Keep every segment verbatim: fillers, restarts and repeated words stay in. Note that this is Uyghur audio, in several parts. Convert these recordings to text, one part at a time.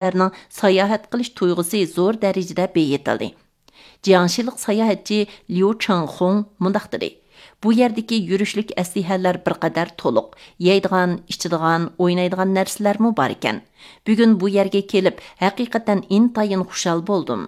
ئادەملەرنىڭ ساياھەت قىلىش تۇيغۇسى زور دەرىجىدە بېيىتىلدى. جياڭشىلىق ساياھەتچى ليۇ چاڭخۇڭ مۇنداق دېدى: «بۇ يەردىكى يۈرۈشلۈك ئەسلىھەلەر بىر قەدەر تولۇق، يەيدىغان، ئىچىدىغان، ئوينايدىغان نەرسىلەرمۇ بار ئىكەن. بۈگۈن بۇ يەرگە كېلىپ، ھەقىقەتەن ئىنتايىن خۇشال بولدۇم.»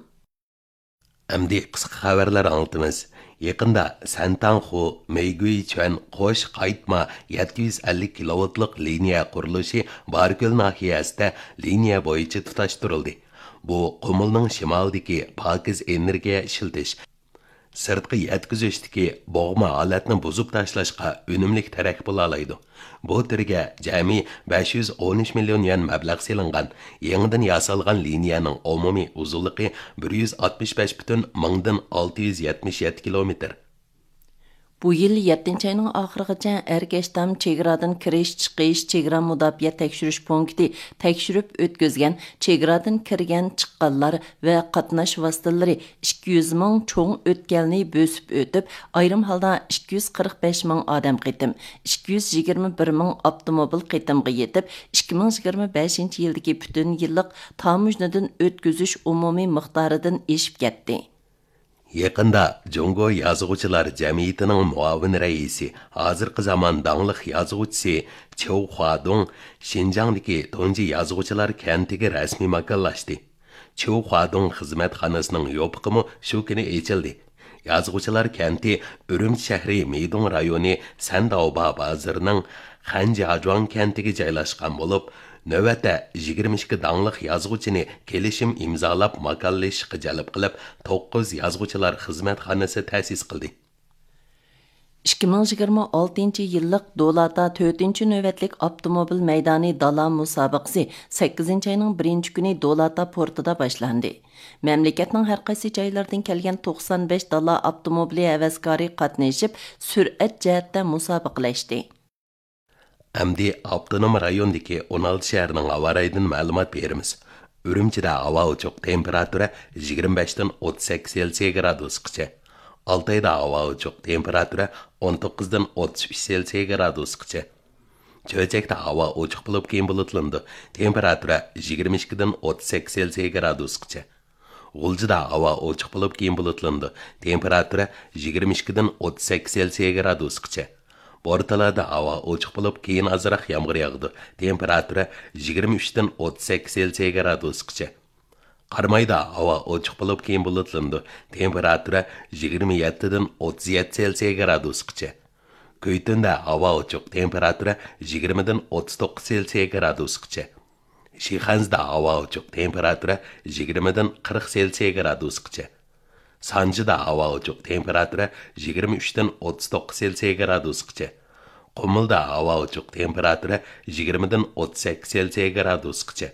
ئەمدى قىسقا خەۋەرلەر ئاڭلىتىمىز. يېقىندا سەنتاڭخۇ، مېيگۈيچۈەن قوش قايتما يەتتە يۈز ئەللىك كىلوۋولتلۇق لىنىيە قۇرۇلۇشى باركۆل ناھىيەسىدە لىنىيە بويىچە تۇتاشتۇرۇلدى. بۇ قۇمۇلنىڭ شىمالىدىكى پاكىز ئېنېرگىيە ئىشلىتىش، سىرتقا يەتكۈزۈشتىكى بوغما ھالەتنى بۇزۇپ تاشلاشقا ئۈنۈملۈك تىرەك بولالايدۇ. بۇ تۈرگە جەمئىي بەش يۈز ئون ئۈچ مىليون يۈەن مەبلەغ سېلىنغان يېڭىدىن ياسالغان لىنىيەنىڭ ئومۇمىي ئۇزۇنلۇقى بىر يۈز ئاتمىش بەش پۈتۈن مىڭدىن ئالتە يۈز يەتمىش يەتتە كىلومېتىر. بۇ يىل يەتتىنچى ئاينىڭ ئاخىرىغىچە ئەركەشتام چېگرادىن كىرىش، چىقىش، چېگرا مۇداپىئە تەكشۈرۈش پونكىتى تەكشۈرۈپ ئۆتكۈزگەن چېگرادىن كىرگەن، چىققانلار ۋە قاتناش ۋاسىتىلىرى ئىككى يۈز مىڭ چوڭ ئۆتكەلنى بۆسۈپ ئۆتۈپ، ئايرىم ھالدا ئىككى يۈز قىرىق بەش مىڭ ئادەم قېتىم، ئىككى يۈز يىگىرمە بىر مىڭ ئاپتوموبىل قېتىمغا يېتىپ، ئىككى مىڭ يىگىرمە بەشىنچى يىلدىكى پۈتۈن يىللىق تاموژنىدىن ئۆتكۈزۈش ئومۇمىي مىقدارىدىن ئېشىپ كەتتى. يېقىندا جۇڭگو يازغۇچىلار جەمئىيىتىنىڭ مۇئاۋىن رەئىسى، ھازىرقى زامان داڭلىق يازغۇچىسى چيۇ خۇادۇڭ شىنجاڭدىكى تۇنجى يازغۇچىلار كەنتىگە رەسمىي ماكانلاشتى. چيۇ خۇادۇڭ خىزمەتخانىسىنىڭ يوپۇقىمۇ شۇ كۈنى ئېچىلدى. يازغۇچىلار كەنتى ئۈرۈمچى شەھىرى مىدۇڭ رايونى سەنداۋبا بازىرىنىڭ خەنجياجۇاڭ كەنتىگە جايلاشقان بولۇپ، نۆۋەتتە يىگىرمە ئىككى داڭلىق يازغۇچىنى كېلىشىم ئىمزالاپ ماكانلىشىشقا جەلپ قىلىپ، توققۇز يازغۇچىلار خىزمەتخانىسى تەسىس قىلدى. ئىككى مىڭ يىگىرمە ئالتىنچى يىللىق دولاتا تۆتىنچى نۆۋەتلىك ئاپتوموبىل مەيدانى دالا مۇسابىقىسى سەككىزىنچى ئاينىڭ بىرىنچى كۈنى دولاتا پورتىدا باشلاندى. مەملىكەتنىڭ ھەر قايسى جايلىرىدىن كەلگەن توقسان بەش دالا ئاپتوموبىلى ھەۋەسكارى قاتنىشىپ، سۈرئەت جەھەتتە مۇسابىقىلەشتى. ئەمدى ئاپتونوم رايوندىكى ئون ئالتە شەھەرنىڭ ھاۋا رايىدىن مەلۇمات بېرىمىز. ئۈرۈمچىدە ھاۋا ئوچۇق، تېمپېراتۇرا يىگىرمە بەشتىن ئوتتۇز سەككىز سېلسىيە گرادۇسقىچە. ئالتايدا ھاۋا ئوچۇق، تېمپېراتۇرا ئون توققۇزدىن ئوتتۇز ئۈچ سېلسىيە گرادۇسقىچە. چۆچەكتە ھاۋا ئوچۇق بولۇپ، كېيىن بۇلۇتلىنىدۇ، تېمپېراتۇرا يىگىرمە ئىككىدىن ئوتتۇز سەككىز سېلسىيە گرادۇسقىچە. غۇلجىدا ھاۋا ئوچۇق بولۇپ، كېيىن بۇلۇتلىنىدۇ، تېمپېراتۇرا يىگىرمە ئىككىدىن ئوتتۇز سەككىز سېلسىيە گرادۇسقىچە. بورتالادا ھاۋا ئوچۇق بولۇپ، كېيىن ئازراق يامغۇر ياغىدۇ، تېمپېراتۇرا يىگىرمە ئۈچتىن ئوتتۇز سەككىز سېلسىيە گرادۇسقىچە. قارامايدا ھاۋا ئوچۇق بولۇپ، كېيىن بۇلۇتلىنىدۇ، تېمپېراتۇرا يىگىرمە يەتتىدىن ئوتتۇز يەتتە سېلسىيە گرادۇسقىچە. كۈيتۈندە ھاۋا ئوچۇق، تېمپېراتۇرا يىگىرمىدىن ئوتتۇز توققۇز سېلسىيە گرادۇسقىچە. شىخەنزىدە ھاۋا ئوچۇق، تېمپېراتۇرا يىگىرمىدىن قىرىق سېلسىيە گرادۇسقىچە. سانجىدا ھاۋا ئوچۇق، تېمپېراتۇرا يىگىرمە ئۈچتىن ئوتتۇز توققۇز سېلسىيە گرادۇسقىچە. قۇمۇلدا ھاۋا ئوچۇق، تېمپېراتۇرا يىگىرمىدىن ئوتتۇز سەككىز سېلسىيە گرادۇسقىچە.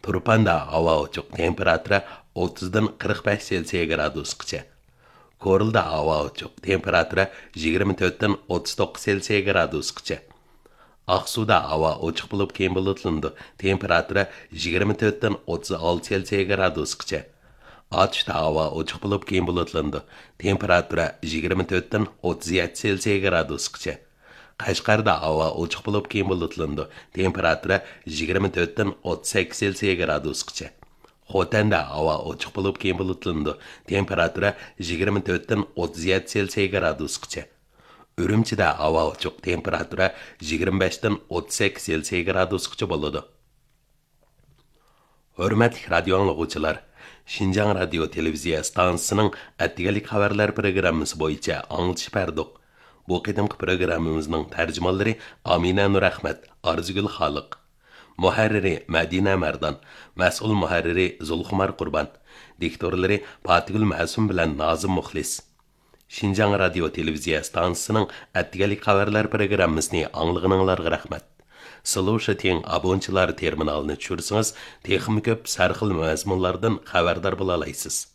تۇرپاندا ھاۋا ئوچۇق، تېمپېراتۇرا ئوتتۇزدىن قىرىق بەش سېلسىيە گرادۇسقىچە. كورلىدا ھاۋا ئوچۇق، تېمپېراتۇرا يىگىرمە تۆتتىن ئوتتۇز توققۇز سېلسىيە گرادۇسقىچە. ئاقسۇدا ھاۋا ئوچۇق بولۇپ، كېيىن بۇلۇتلىنىدۇ، تېمپېراتۇرا يىگىرمە تۆتتىن ئوتتۇز ئالتە سېلسىيە گرادۇسقىچە. ئاتۇشتا ھاۋا ئوچۇق بولۇپ، كېيىن بۇلۇتلىنىدۇ، تېمپېراتۇرا يىگىرمە تۆتتىن ئوتتۇز يەتتە سېلسىيە گرادۇسقىچە. قەشقەردە ھاۋا ئوچۇق بولۇپ، كېيىن بۇلۇتلىنىدۇ، تېمپېراتۇرا يىگىرمە تۆتتىن ئوتتۇز سەككىز سېلسىيە گرادۇسقىچە. خوتەندە ھاۋا ئوچۇق بولۇپ، كېيىن بۇلۇتلىنىدۇ، تېمپېراتۇرا يىگىرمە تۆتتىن ئوتتۇز يەتتە سېلسىيە گرادۇسقىچە. ئۈرۈمچىدە ھاۋا ئوچۇق، تېمپېراتۇرا يىگىرمە بەشتىن ئوتتۇز سەككىز سېلسىيە گرادۇسقىچە بولىدۇ. ھۆرمەتلىك رادىيو ئاڭلىغۇچىلار، شىنجاڭ رادىيو تېلېۋىزىيە ئىستانسىسىنىڭ ئەتىگەنلىك خەۋەرلەر پروگراممىسى بويىچە ئاڭلىتىش بەردۇق. بۇ قېتىمقى پروگراممىمىزنىڭ تەرجىمانلىرى ئامىنە نۇرئەخمەت، ئارزۇگۈل خالىق. مۇھەررىرى مەدىنە مەردان، مەسئۇل مۇھەررىرى زۇلخۇمار قۇربان، دىكتورلىرى پاتىگۈل مەسۇم بىلەن نازىم مۇخلىس. شىنجاڭ رادىيو تېلېۋىزىيە ئىستانسىسىنىڭ ئەتىگەنلىك خەۋەرلەر پروگراممىسىنى ئاڭلىغىنىڭلارغا رەھمەت. سلۇشىتىڭ ئابونچىلار تېرمىنالىنى چۈشۈرسىڭىز، تېخىمۇ كۆپ سەرخىل مەزمۇنلاردىن خەۋەردار بولالايسىز.